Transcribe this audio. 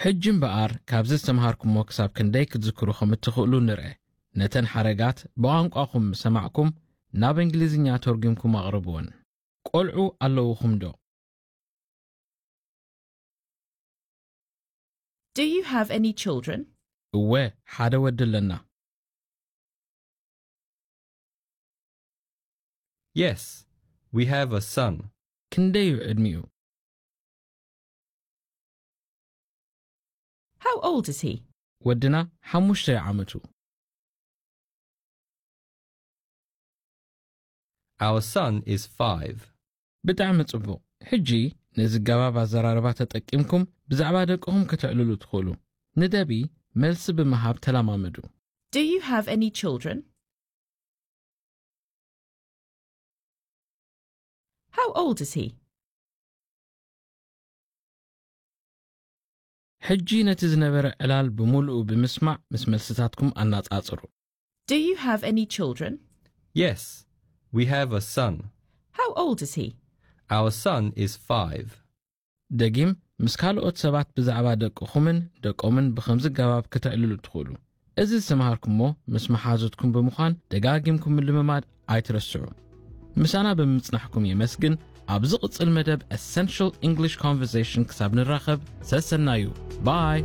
ሕጂ እምበኣር ካብዚ ዝተምሃርኩሞ ክሳብ ክንደይ ክትዝክሩ ከም እትኽእሉ ንርአ። ነተን ሓረጋት ብቋንቋኹም ምስ ሰማዕኩም ናብ እንግሊዝኛ ተርጒምኩም ኣቕርብወን። ቆልዑ ኣለውኹም ዶ? Do you have any children? እወ፣ ሓደ ወዲ ኣለና። Yes, we have a son. ክንደይ እዩ ዕድሚኡ? How old is he? ወድና ሓሙሽተ ዓመቱ። Our son is five. ብጣዕሚ ጽቡቕ። ሕጂ ነዚ ገባብ ኣዘራርባ ተጠቂምኩም ብዛዕባ ደቅኹም ከተዕልሉ ትኽእሉ። ንደቢ መልሲ ብምሃብ ተለማመዱ። Do you have any children? How old is he? ሕጂ ነቲ ዝነበረ ዕላል ብምሉኡ ብምስማዕ ምስ መልስታትኩም ኣነጻጽሩ። Do you have any children? Yes, we have a son. How old is he? Our son is five. ደጊም ምስ ካልኦት ሰባት ብዛዕባ ደቅኹምን ደቆምን ብኸምዚ ገባብ ክትዕልሉ ትኽእሉ። እዚ ዝተምሃርኩሞ ምስ መሓዙትኩም ብምዃን ደጋጊምኩም ምልምማድ ኣይትረስዑ። ምሳና ብምጽናሕኩም የመስግን። ኣብ ዝቕጽል መደብ Essential English Conversation ክሳብ ንራኸብ ሰሰናዩ። ባይ።